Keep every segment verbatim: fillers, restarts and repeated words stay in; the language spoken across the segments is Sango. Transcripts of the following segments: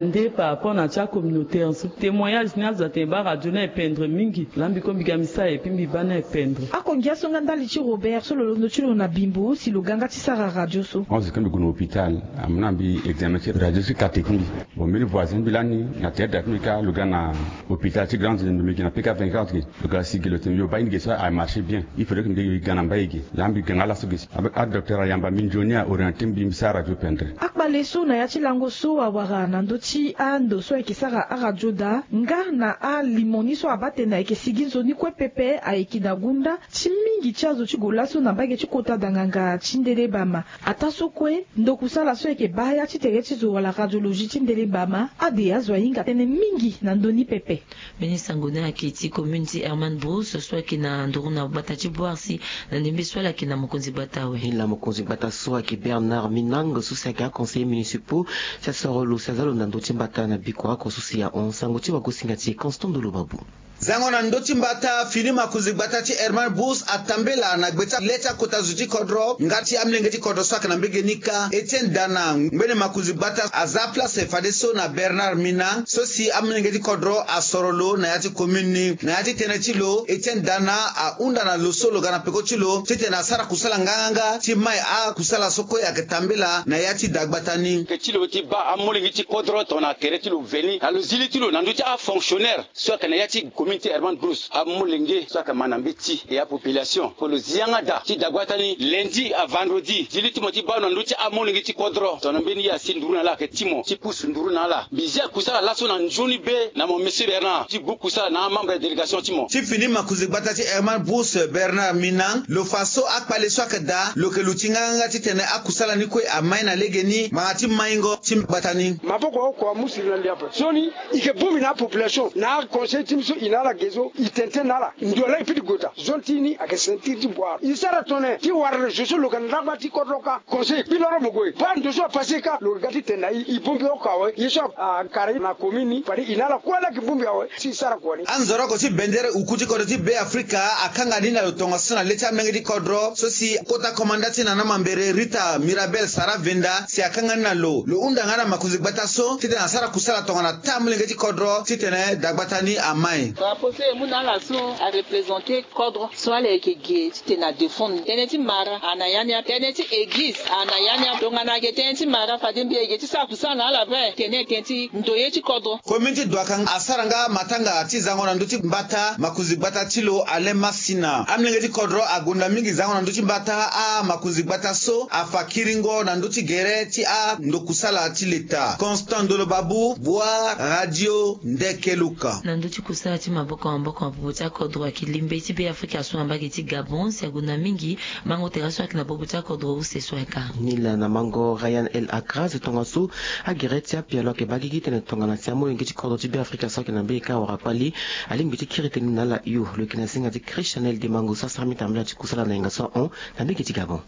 Nde par rapport na ti acommunautaire so, témoignage ni azo atene baa radio ni ependre mingi. Laa mbi ko mbi ga mbi sara epui mbi baa ni ependre. Ako ngia so nga ndali ti Robert so lo londo ti lo na bimbo si lo ga nga ti sara radio so. Onze ke mbi gue na hôpital, amu na mbi examen ti radio so kate ti mbi. Bon, mbeni voisin mbi lani na tere da ti mbi ka lo ga na hôpital ti grande, mbi gi na pika vingt-quatre ge. Lo ga si ge lo tene yo baa ini ge so a marché bien. Il faudrait que mbi ga na mbai ge. Laa mbi ga nga laso ge si adocteur ayamba mbi nzoni, a orienté mbi mbi sara radio pendre. Akpale so na ya ti lango so awara na ndö ti ando so ayeke sara aradio daa nga na alimo ni so abaa tene ayeke sigi nzoni kue pepe ayeke na gunda ti mingi ti azo ti gue laso na mbage ti kota danganga ti ndele bama. Ataa so kue, ndo kusala so ayeke baa ya ti tere ti zo wala radiologie ti ndele bama ade azo ahinga tënë mingi na ndö ni pepe. Mbeni sango ni ayeke ti commune ti Hermann Broos so ayeke na nduru na gbata ti Bourse na ndembe so ala yeke na mokonzi gbata awe. Ni laa mokonzi gbata so ayeke Bernard Minang so si ayeke aconseillers municipaux si asoro lo si aza lo na ndö ti mbata na bikua oko so si ahon. Sango ti wagosinga ti e Constant Ndolo Babou. Zango na ndö ti mbata fini makonzi gbata ti Hermann Broos atambela na gbe ti le ti akota zo ti kodro nga ti amolenge ti kodro so ayeke na mbege ni kâ. Etienne Dana, ngbene makonzi gbata, aza place fadeso na Bernard Minang so si amolenge ti kodro asoro lo na ya ti commune ni. Na ya ti tënë ti lo, Etienne Dana ahunda na lo so lo ga na peko ti lo titene asara kusala nganganga ti mai akusala so kue ayeke tambela na ya ti dagbata ni. Ke ti lo ti baa amolenge ti kodro tongana tere ti lo veni na lo zi li ti lo na ndö ti afonctionnaire so ayeke na ya ti commune ti Hermann Broos, amolenge so ayeke ma na mbeti, e apopulation, fo lo zi yanga daa ti dagbata ni. Lundi a vendredi, zi li ti mo ti baa lo na ndö ti amolenge ti kodro tongana mbeni ye asi nduru na ala ayeke ti mo ti pusu nduru na ala. Mbi zi akusala laso na nzoni be na mo monsieur Bernard ti gbu kusala na amembre ya délégation ti mo. Ti fini makonzi gbata ti Hermann Broos Bernard Minang lo fa so akpale so ayeke daa lo yeke luti nganganga titene akusala ni kue amai na legeni ngbanga ti maingo ti gbata ni. Maboko oko amu siri na lia ape. Sioni, i yeke bongbi na apopulation na aconseil ti mbi so i na ala ge so i tene tënë na ala. Ndo laa i piti gota. Zone ti ni ayeke ceinture ti boire. I sara tongana ti wara zo so lo yeke na ndagba ti kodro kâ. Conseil kpi loro mo gue. Baa ndo so apassé kâ lo yeke ga ti tene na i. I bongbi oko awe. Ye so akara i na commune ni fade i na ala kue laa yeke bongbi awe. Si i sara kua ni. Anzoroko ti bendere oku ti kodro ti Be Afrika akanga ni na lo tongaso na le ti amolenge ti kodro so si kota komanda ti na na mambere Rita Mirabel Sara Venda si akanga ni na lo. Lo hunda nga na makonzi gbata so titene asara kusala tongana taa amolenge ti kodro titene dagbata ni amai. Drapeau so e mu na ala so areprésente kodro so ala yeke ge titene adéfendre tënë ti mara ana ya ni ape, tënë ti église ana ya ni ape. Tongana ayeke tënë ti mara fade mbi yeke ti sara kusala na ala vrai tene tënë ti ndoye ti kodro. Commune ti Douakang asara nga matanga ti zango na ndö ti mbata makonzi gbata ti lo Alain Masina. Amolenge ti kodro agonda mingi zango na ndö ti mbata amakonzi gbata so afa kiringo na ndö ti gere ti ando kusala ti leta. Constant Ndolo Babou, Boa, Radio Ndeke Luka. Na ndö ti kusala ti maboko na maboko na popo ti akodro ayeke limbe ti Be Afrika so na mbage ti Gabon si agonda mingi mango tere so ayeke na popo ti akodro use so ayeke. Nilaa na mango Ryan El Akraz tongaso agere ti apialo ayeke baa gigi tene tongana si amolenge ti kodro ti Be Afrika so ayeke na mbage kâ awara kpali alingbi ti kiri tënë na ala hio. Lo yeke na zinga ti Christianel Dimango so asara mbi tambela ti kusala na yanga so ahon na mbage ti Gabon.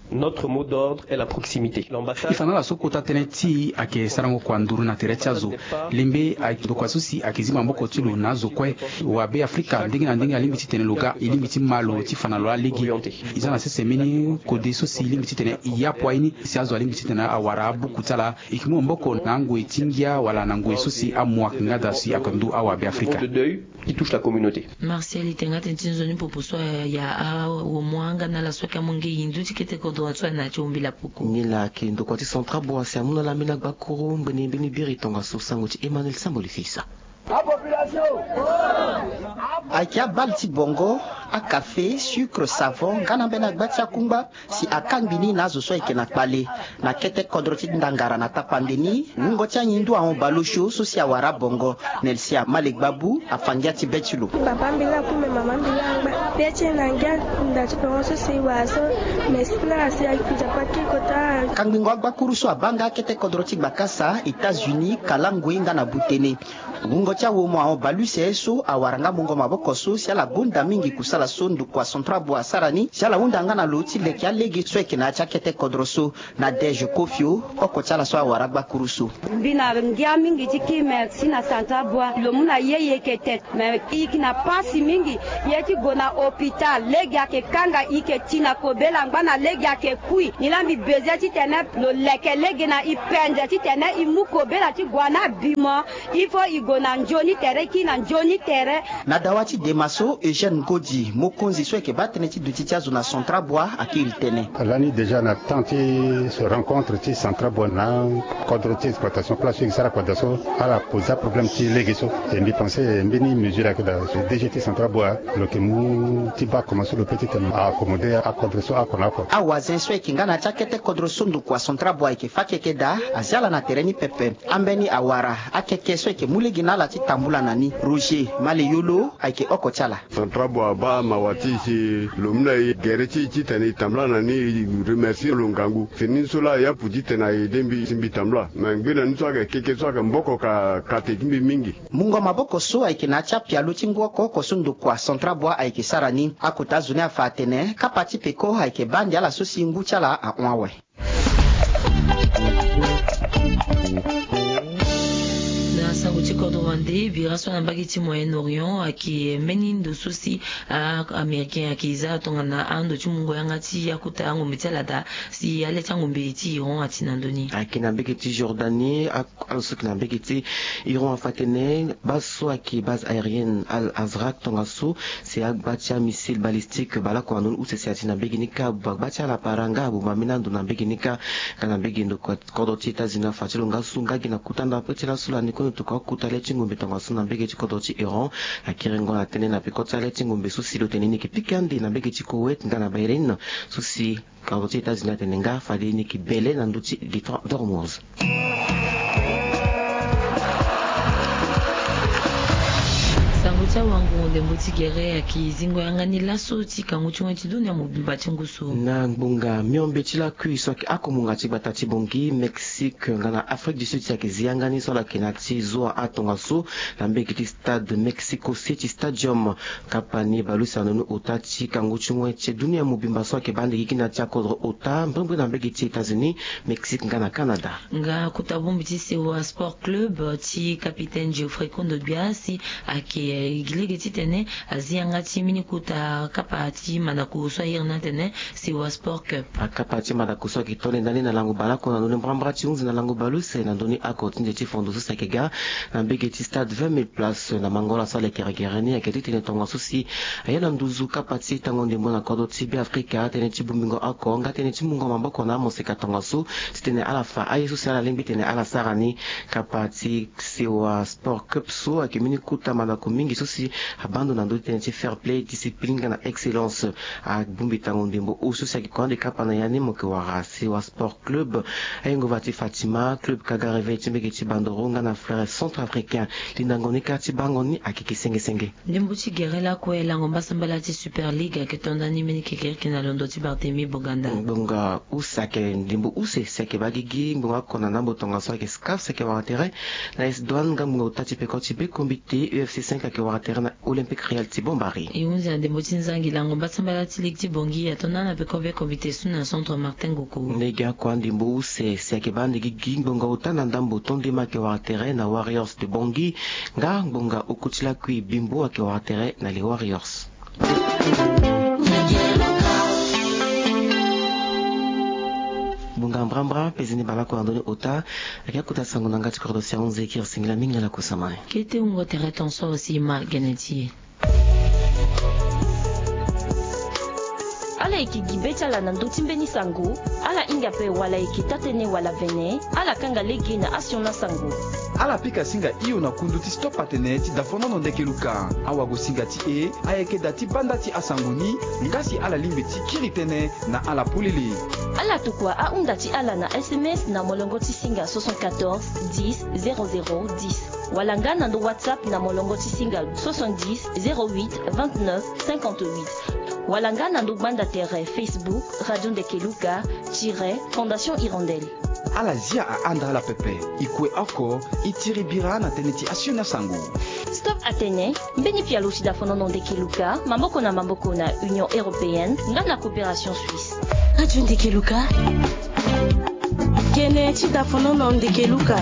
Notre mot d'ordre est la proximité. L'ambassade. E fa na ala so kota tënë ti e ayeke sarango kua nduru na tere ti azo. Lembe ayeke ndokua so si ayeke zi maboko ti lo na azo kue. Wa Be Afrika ndenge na ndenge alingbi titene lo ga, e lingbi ti ma lo ti fa na lo alege. E za na sese mbeni kode so si e lingbi titene e yapu aye ni si azo alingbi titene awara abuku ti ala. E yeke mu maboko na angoi ti ngia wala na ngoi so si amu ayeke nga daa si ayeke ndu awa Be Afrika. Qui touche la communauté. Martial, e tene nga tënë ti nzoni popo so aya awomo nga na ala so ayeke amolenge hindu ti kete kodro so ayeke na ya ti wombela poko. Nilaa ayeke ndokua ti Centrafrique si amu na ala mbeni agbakuru ngbene mbeni biri tongaso. Sango ti Emmanuel Samboli Fils. Ayeke abale ti bongo, akafe, sucre, savon nga na mbeni agba ti akungba. Si akangbi ni na azo so ayeke na kpale na kete kodro ti Ndangara na tapande ni, wungo ti anyindu ahon bale osio so si awara abongo. Nelsia Male Gbabu afa ngia ti be ti lo. Papa mbi laa aku me mama mbi laa angba. Pe ti e na ngia nda ti bongo so si e wara so. Me si na ala si ayeke nzapa ti kota. Kangbingo agbakuru so abaa nga akete kodro ti Gbakasa, États-Unis, Kalangui nga na Butene. Wungo ti awomo ahon bale use so awara nga mungo maboko so si ala gonda mingi kusa. Ala so ndokua Central Bois asara ni si ala hunda nga na lo ti leke alege so ayeke na ya ti akete kodro so. Nadège Kofio, oko ti ala so awara gbakuru so. Mbi na ngia mingi ti ki merci na Central Bois, lo mu na ye e yeke tete. Me e yeke na pasi mingi. Ye ti gue na hôpital lege ayeke kanga e yeke ti na kobela angba na lege ayeke kui. Nilaa mbi bezoin titene lo leke lege na e penze titene e mu kobela ti gue na bimo. Il faut e gue na nzoni tere, e kiri na nzoni tere. Na dawa ti dema so, Eugène Ngodi, mokonzi so ayeke baa tënë ti duti ti azo na Central Bois, akiri tënë. Lani déjà na temps ti se rencontre ti Central Bois na kodro ti exploitation place so e sara kodro so, ala posa problème ti lege so. E mbi pense mbeni mesure ayeke daa, D G ti Central Bois lo yeke mu ti baa comment so lo peut titene accommodé akodro so oko na oko. Awazen so ayeke nga na ya ti akete kodro so ndokua Central Bois ayeke fa keke daa, azi ala na tere ni pepe. Ambeni awara akeke so ayeke mu lege na ala ti tambula na ni. Roger Maleyolo ayeke oko ti ala. Central Bois abaa mawa ti e si lo mu na e gere ti e titene e tambula na ni, e remercie lo ngangu. Fini ni so laa e apu titene a aidé mbi si mbi tambula. Me ngbene ni so ayeke keke so ayeke maboko ka kate ti mbi mingi. Mungo maboko so ayeke na ya ti apialo ti ngu oko oko so ndokua Central Bois ayeke sara ni. Akota azo ni afa atene kapa ti peko ayeke baa ande ala so si ngu ti ala ahon awe. Na sango ti kodro wande, bira so na mbage ti Moyen-Orient ayeke mbeni ndo so si a-Américain ayeke za tongana ando ti mungo yanga ti akota angombe ti ala daa, si ale ti angombe ti Iran ati na ndö ni. Ayeke na mbage ti Jordanie, a- Ala so ayeke na mbage ti Iran afa atene base so ayeke base aérienne Al Azraq tongaso, si agba ti amissile balistique baleoko na ndoni use si ati na mbage ni kâ, agba ti ala paranga abomba ambeni ando na mbage ni kâ. Nga na mbage ndo kodro ti États-Unis afa ti lo nga so nga gi na kota ndapre ti laso lani kue ndo tokua akota le ti ngombe tongaso na mbage ti kodro ti Iran. Akerengo na tënë na peko ti ale ti ngombe so si lo tene ni yeke pika ande na mbage ti Koweït nga na Bahreïn so si Kodro ti États-Unis atene nga fade ni yeke bele na ndö ti Détroit d'Ormuz. Sango ti awango ndembo ti gere ayeke zingo yanga ni laso ti kangu ti wen ti dunia mobimba ti ngu so. Na ngbonga miombe ti lakui so ayeke akomunga ti gbata ti Bangui, Mexique nga na Afrique du Sud si ayeke zi yanga ni so ala yeke na ya ti zo atongaso na mbege ti stade Mexico City Stadium. Kapa ni bale use na ndoni ota ti kangu ti wen ti dunia mobimba so ayeke baa ande gigi na ya ti akodro ota mbrimbri na mbege ti États-Unis, Mexique nga na Canada. Nga kota bongbi ti Sewa Sport Club ti capitaine Geoffrey Kondo Gbia si ayeke gi lege titene azi yanga ti mbeni kota kapa ti mandako so airi ni atene Sewa Sport Cup. Akapa ti mandako so ayeke to nde ndani na lango baleoko na ndoni mbrambra ti hunzi na lango bale use na ndoni oko ti nze ti fondo so si ayeke ga na mbege ti stade vingt mille places na mangola so aleke regere ni ayeke titene tongaso si aye na nduzu kapa ti tango ndembo na kodro ti Beafrika, tënë ti bongbingo oko nga tënë ti mungo maboko na amoseka tongaso titene ala fa aye so si ala lingbi titene ala sara ni. Kapa ti Sewa Sport Cup so ayeke mbeni kota mandako mingi so si abaa ndo na ndö ti tënë ti fair play, discipline nga na excellence. Abongbi tango ndembo use so si ayeke kua ande kapa na ya ni mo yeke wara Sewa Sport Club. Ayengo va ti Fatima, club Kaga Réveil ti mbege ti Bandoro nga na Frères Centrafricains. Lindango ni kâ ti bango ni ayeke senge senge. Ndembo ti gere lakue, lango mbasambala ti Super League ayeke to ndani mbeni kekereke na londo ti Barthélemy Boganda. Ngbonga use ayeke ndembo use si ayeke baa gigi ngbonga oko na ndambo tongaso ayeke SCAF si ayeke wara tere na S Douanes nga ngbonga ota ti peko ti be combité U F C cinq ayeke wara tere na Olympique Real ti Bombari. E hunzi na ndembo ti nzangi, lango mbasambala ti ligue ti Bangui ato na ala peko be combité so na centre Martin Ngoko. Ndege oko andembo use si ayeke baa ande gigi ngbonga ota na ndambo tondema ayeke wara tere na Warriors de Bangui. Nga ngbonga oko ti lakui Bimbo ayeke wara tere na les Warriors. Ngbonga mbrambra pezeni baleoko na ndoni ota. Ayeke akota sango na nga ti kodro si ahunzi kiri singila mingi na kusama. Kete wungo tere ton so si ma gene ti e. Ala yeke gi be ti ala na ndö ti mbeni sango, ala hinga ape wala e yeke taa-tënë wala vene, ala kanga lege na asioni asango. Ala pika singa hio na kundu ti Stop Atene ti Dafonono Ndeke Luka. Awagosinga ti e ayeke daa ti baa nda ti asango ni, nga si ala lingbi ti kiri tënë na ala polele. Ala tokua ahunda ti ala na S M S na molongo ti singa soixante-quatorze dix zéro zéro dix. Wala nga na ndo WhatsApp na molongo ti singa soixante-dix zéro huit vingt-neuf cinquante-huit. Wala nga na ndo gbanda tere Facebook Radio Ndeke Luka tiret Fondation Hirondelle. Ala zia ahanda ala pepe. E kue oko, e tiri bira na tënë ti asioni asango. Stop atene, mbeni pialo si dafonono ndeke luka maboko na maboko na Union Européenne nga na Coopération Suisse. Radio Ndeke Luka. Kene ti dafonono ndeke luka.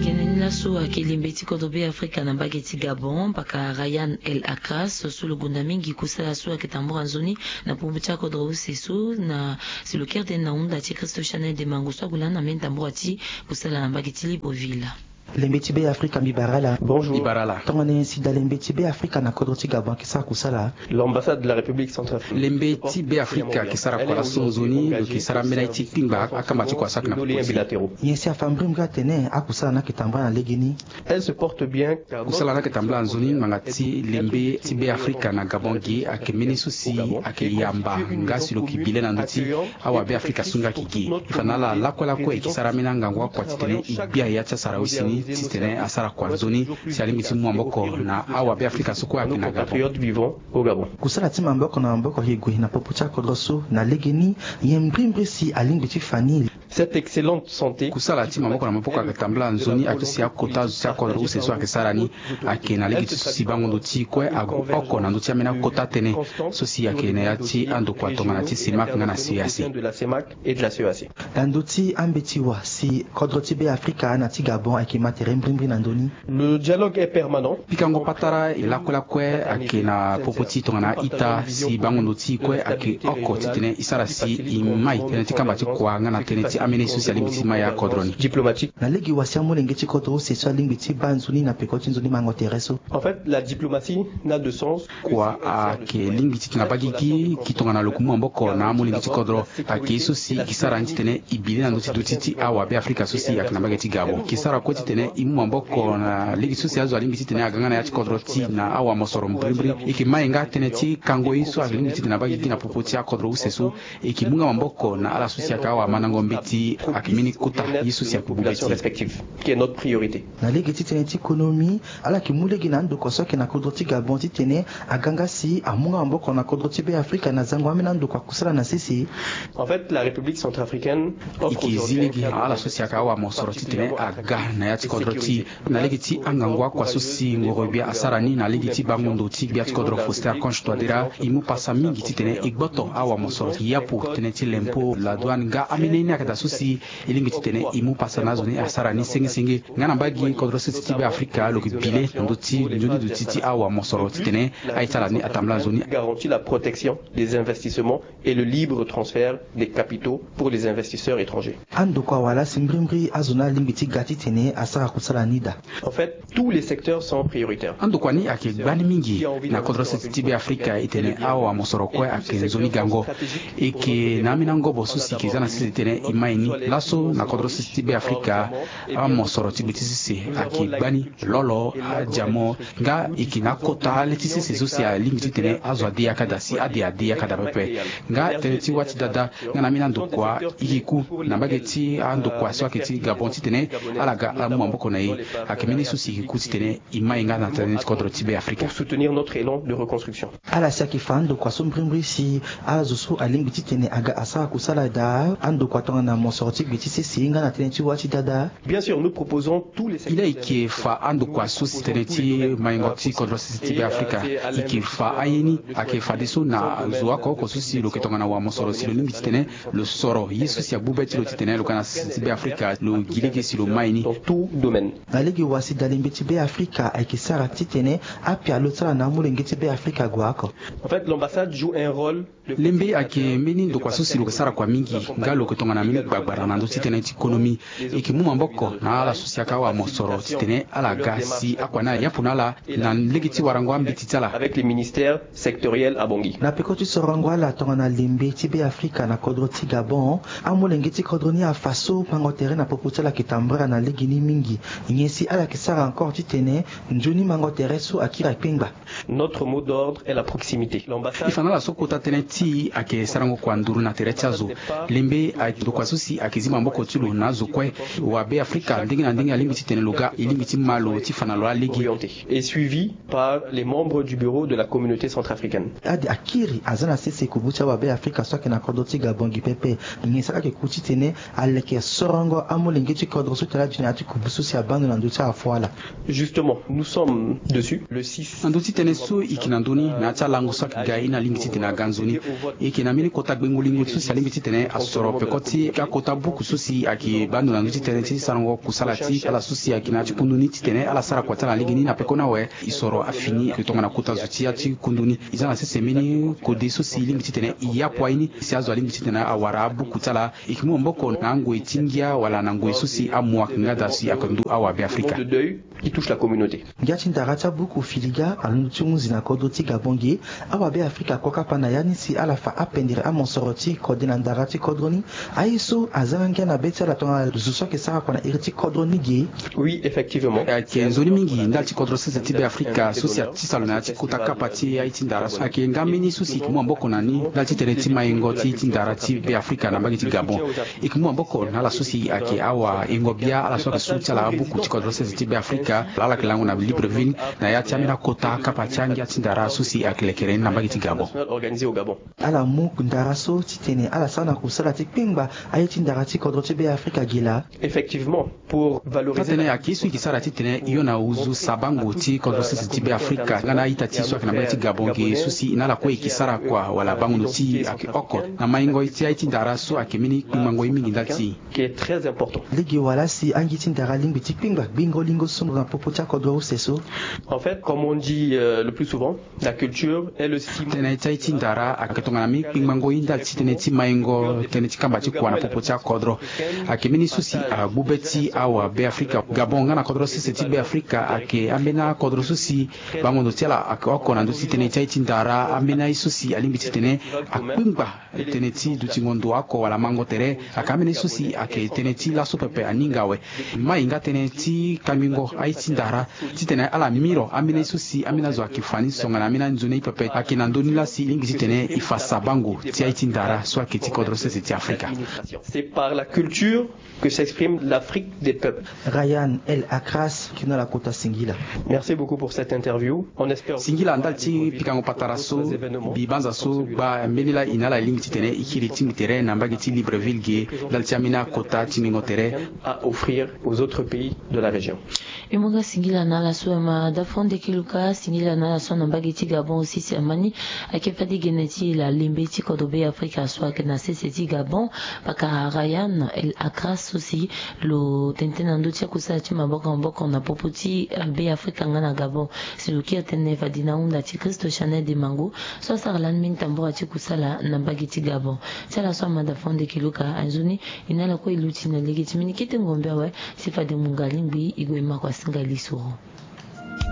Kene ni laso ayeke lembe ti kodro Be Afrika na mbage ti Gabon, paka Ryan El Akras so lo gonda mingi kusala so ayeke tambura nzoni na popo ti akodro use so na si lo kiri tënë na hunda ti Christo Chanel de Mango so ague lani na mbeni tambura ti kusala na mbage ti Libreville. Lembe ti Be Afrika, mbi bara ala. Bonjour. Mbi bara ala. Tongana nyen si dalembe ti Be Afrika na kodro ti Gabon ayeke sara kusala? L'ambassade de la République centrafricaine. Lembe ti Be Afrika ayeke sara kua laso nzoni, lo yeke sara ambeni aye ti kpingba akamba ti kua so ayeke na popo ti e. Nyen si afa mbirimbiri atene akusala ni ayeke tambula na legeni? Elle se porte bien. Kusala ni ayeke tambula nzoni ngbanga ti lembe ti Be Afrika na Gabon ge ayeke mbeni so si ayeke yamba nga si lo yeke bi le na ndö ti awa Be Afrika so nga ayeke ge. E fa na ala lakue lakue e yeke sara ambeni angangu akua titene e gbia ya ti asara use ni titene asara kua nzoni si alingbi ti mu maboko na awa Be Afrika so kue ayeke na Gabon. Kusala ti maboko na maboko ayeke gue na popo ti akodro so na legeni, nyen mbirimbiri si alingbi ti fa ni? Cette excellente santé. Kusala ti maboko na maboko ayeke tambula nzoni aye ti si akota azo ti akodro use so ayeke sara ni ayeke na lege ti so si bango ndo ti e kue ague oko na ndö ti ambeni akota tënë so si ayeke na ya ti andokua tongana ti CEMAC nga na CEEAC. Na ndö ti ambeti wa si kodro ti Be Afrika na ti Gabon ayeke ma tere mbirimbiri na ndö ni? Le dialogue est permanent. Pikango patara e lakue lakue ayeke na popo ti e tongana ita si bango ndo ti e kue ayeke oko titene e sara si e mai tënë ti kamba ti kua nga na tënë ti ambeni so si alingbi ti mai akodro ni. Diplomatique. Na lege wa si amolenge ti kodro use so alingbi ti baa nzoni na peko ti nzoni mango tere so? En fait, la diplomatie n'a de sens. Kua ayeke lingbi titene abaa gigi gi tongana lo yeke mu maboko na amolenge ti kodro. Ayeke ye so si e yeke sara ni titene e bi le na ndö ti duti ti awa Be Afrika so si ayeke na mbage ti Gabon. E yeke sara kue titene e mu maboko na lege so si azo alingbi titene aga nga na ya ti kodro ti e na awa mosoro mbirimbiri. E yeke mai nga tënë ti kango ye so alingbi titene abaa gigi na popo ti akodro use so. E yeke mu nga maboko na ala so si ayeke awamandango mbeti ayeke mbeni kota ye so si ayeke mu mbeti. Qui est notre priorité. Na lege ti tënë ti konomi, ala yeke mu lege na andokua so ayeke na kodro ti Gabon titene aga nga si amu nga maboko na kodro ti Be Afrika na zango ambeni andokua kusala na sese. En fait, la République centrafricaine offre aujourd'hui un cadre d'investissement. E yeke zi lege na ala so si ayeke awamosoro titene aga na ya ti kodro ti e na lege ti angangu akua so si ngoro-gbia asara ni na lege ti bango ndo ti gbia ti kodro Faustin Archange Touadéra. E mu pasa mingi titene e gboto awamosoro ti yapu tënë ti lempo, la douane nga ambeni ye ni ayeke daa so si e lingbi titene e mu pasa na azo ni asara ni sengesenge. Nga na mbage kodro sese ti Be Afrika lo yeke bi le na ndö ti nzoni duti ti awamosoro titene a-ita ala ni atambula nzoni. Garantit la protection des investissements et le libre transfert des capitaux pour les investisseurs étrangers. Andokua wala si mbirimbiri azo ni alingbi ti ga titene asara kusala ni daa? En fait, tous les secteurs sont prioritaires. Andokua ni ayeke gbani mingi na kodro sese ti Be Afrika, e tene awamosoro kue ayeke nzoni gango. E yeke na ambeni angobo so si e yeke za na sese titene e mai ni. Laso na kodro sese ti Be Afrika, amosoro ti gbe ti sese ayeke gbani. Lolo, adiamo, nga e yeke na akota le ti sese so si alingbi titene azo ade yaka daa si ade ade yaka daa pepe. Nga tënë ti wâ ti dada nga na ambeni andokua e yeke ku na mbage ti andokua so ayeke ti Gabon titene ala ga ala mu maboko na e. Ayeke mbeni so si e yeke ku titene e mai nga na tënë ti kodro ti Be Afrika. Pour soutenir notre élan de reconstruction. Ala si ayeke fa andokua so mbirimbiri si azo so alingbi titene aga asara kusala daa, andokua tongana mosoro ti gbe ti sese nga na tënë ti wâ ti dada. Bien sûr, nous proposons tous les secteurs. E yeke fa andokua so si tënë ti maingo ti kodro sese ti Be Afrika. E yeke fa aye ni ayeke fadeso na zo oko oko so si lo yeke tongana wamosoro si lo lingbi titene lo soro ye so si agbu be ti lo titene lo ga na sese ti Be Afrika, lo gi lege si lo mai ni. Dans tout domaine. Na lege wa si dalembe ti Be Afrika ayeke sara titene apialo ti ala na amolenge ti Be Afrika ague oko. En fait, l'ambassade joue un rôle. Lembe ayeke mbeni ndokua so si lo yeke sara kua mingi, nga lo yeke tongana mbeni gbagbara na ndö ti tënë ti konomi. E yeke mu maboko na ala so si ayeke awamosoro titene ala ga si akua ni ayapu na ala na lege ti warango ambeti ti ala. Avec les ministères sectoriels à Bangui. Na peko ti sorongo ala tongana lembe ti Be Afrika na kodro ti Gabon, amolenge ti kodro ni afa so mango tere na popo ti ala ayeke tambara na legeni mingi. Nyen si ala yeke sara encore titene nzoni mango tere so akiri akpengba? Notre mot d'ordre est la proximité. L'ambassade. E fa na ala so kota tënë ti e ayeke sarango kua nduru na tere ti azo. Lembe ayeke ndokua so so si ayeke zi maboko ti lo na azo kue. Wa Beafrika ndenge na ndenge alingbi titene lo ga, e lingbi ti ma lo ti fa na lo alege. Et suivi par les membres du bureau de la communauté centrafricaine. Ade akiri aza na sese kubu ti awa Beafrika so ayeke na kodro ti Gabon gi pepe. Nyen sara ayeke ku titene aleke sorongo amolenge ti kodro so tene adu na ya ti kubu so si abaa ndo na ndö ti afu ala. Justement, nous sommes dessus. Le six. Na ndö ti tënë so e yeke na ndö ni na ya ti alango so ayeke ga ye ni alingbi titene aga nzoni. E yeke na mbeni kota gbengo lingo so si alingbi titene asoro peko ti akota buku so si ayeke baa ndo na ndö ti tënë ti sarango kusala ti ala so si ayeke na ya ti kundu ni titene ala sara kua ti ala na lege ni na peko ni awe. E soro afini tongana kota zo ti ya ti kundu ni. E za na sese mbeni kode so si e lingbi titene e yapu aye ni si azo alingbi titene awara abuku ti ala. E yeke mu maboko na angoi ti ngia wala na ngoi so si amu ayeke nga daa si ayeke ndu awa Beafrika. Qui touche la communauté. Ngia ti ndara ti abuku filiga alondo ti hunzi na kodro ti Gabon ge. Awa Beafrika akua kapa na ya ni si ala fa apendere amosoro ti kode na ndara ti kodro ni. Aye so aza nga ngia na be ti ala tongana zo so ayeke sara kua na iri ti kodro ni ge. Oui, effectivement. Ayeke nzoni mingi ndali ti kodro sese ti Beafrika so si atisa lo na ya ti kota kapa ti aye ti ndara so. Ayeke nga mbeni so si e yeke mu maboko na ni ndali ti tënë ti maingo ti, ti ndara ti Beafrika na mbage ti Gabon. E yeke mu maboko na ala so si ayeke awahingo bia, ala so ayeke su ti ala abuku ti kodro sese ti Beafrika, ala yeke lango na Libreville na ya ti ambeni akota kapa ti angia ti ndara so si ayeke lekere ni na mbage ti Gabon. Organisé au Gabon. Ala mu ndara so titene ala sara na kusala ti kpengba aye ti ndara ti kodro ti Beafrika ge laa. Effectivement, pour valoriser. Atene ayeke ye so e yeke sara titene e yo na nduzu sabango ti kodro sese ti Beafrika nga na a-ita ti e so ayeke na mbage ti Gabon ge so si e na ala kue e yeke sara kua wala bango ndo ti e ayeke oko na maingo ti aye ti ndara so ayeke mbeni kpingbango ye mingi ndali ti e. Qui est très important. Lege wala si angia ti ndara alingbi ti kpengba gbengo lingo so na popo ti akodro use so. En fait, comme on dit, euh, le plus souvent, la culture est le ciment. Tënë ti aye ti ndara ayeke tongana mbeni kpingbango ye ndali ti tënë ti maingo, tënë ti kamba ti kua na popo ti akodro. Ayeke mbeni so si agbu be ti awa Beafrika. Gabon nga na kodro sese ti Beafrika ayeke ambeni akodro so si bango ndo ti ala ayeke oko na ndö ti tënë ti aye ti ndara. Ambeni aye so si alingbi titene akpengba tënë ti dutingo ndo oko wala mango tere. Ayeke ambeni so si ayeke tënë ti laso pepe aninga awe. Mai nga tënë ti kangbingo aye ti ndara titene ala miro ambeni so si ambeni azo ayeke fa ni tongana ambeni anzoni aye pepe. Ayeke na ndö ni laa si e lingbi titene e fa sabango ti aye ti ndara so ayeke ti kodro sese ti Afrika. C'est par la culture que s'exprime l'Afrique des peuples. Ryan El Akras, kino ala kota singila. Merci beaucoup pour cette interview. On espère. Singila ndali ti pikango patara so. Mbi banza so gba mbeni laa e na ala e lingbi titene e kiri tingbi tere na mbage ti Libreville ge ndali ti ambeni akota ti ngingo tere. À offrir aux autres pays de la région. E mu nga singila na ala so ama da fo ndeke luka, singila na ala so na mbage ti Gabon aussi si ama ni ayeke fade gene ti e laa lembe ti kodro Beafrika so ayeke na sese ti Gabon. Pakara Ryan El Akras so si lo tene tënë na ndö ti akusala ti maboko maboko na popo ti, eh, Beafrika nga na Gabon. Si lo kiri tënë fade na ahunda ti Christo Chanel Dimango so asara lani mbeni tambura ti kusala na mbage ti Gabon. Ti ala so ama da fo ndeke luka, anzoni e na ala kue e luti na lege ti mbeni kete ngombe awe. Si fade mungo alingbi e gue e ma kua singa lisoro.